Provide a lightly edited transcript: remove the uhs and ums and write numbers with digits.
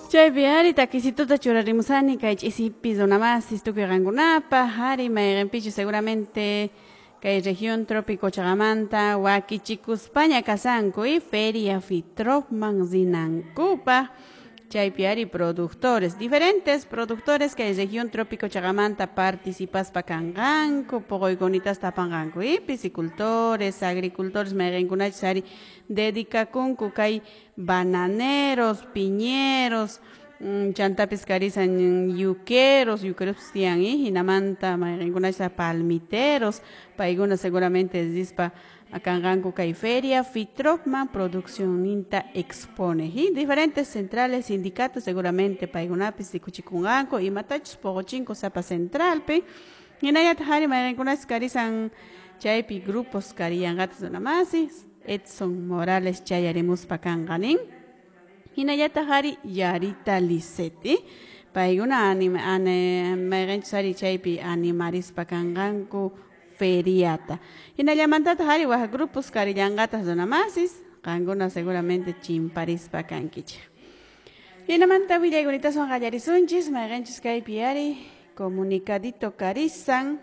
Chaypi ari takisituta churarimusani kay ch'isipi runamasis tukuy qankunapaq ari mayqinpichu seguramente kay región trópico chaqamanta wakichikuspaña kasanku y feria Fitropman rinankupaq. Chaypi ari productores, diferentes productores kay región trópico chaqamanta participaspa kanqanku, puquykunitasta apanqanku y piscicultores, agricultores mayqinkunachus ari dedicakunku kay bananeros, piñeros, chantapis karisan yuqueros, yuqueros tiyan y hinamanta mayqinkunachus palmiteros, paykuna seguramente rispa kanqanku kay feria Fitropman produccionninta expone y diferentes centrales, sindicatos seguramente paykunapis rikuchikunqanku imatachus puquchinku sapa centralpi hinallataq ari mayqinkunachus karisan chaypi grupos kariyanqataq runamasis Edson Morales chayarimuspa kanqa nin hinallataq ari Yarita Lisset paykuna mayqinchus ari chaypi animarispa kanqanku feriata. Hinallamantataq ari wak grupos karillanqataq runamasis qankuna seguramente chimparispa kankichik. Hinamanta willaykunitasun qallarisunchis mayqinchus kaypi ari comunicadito karisan.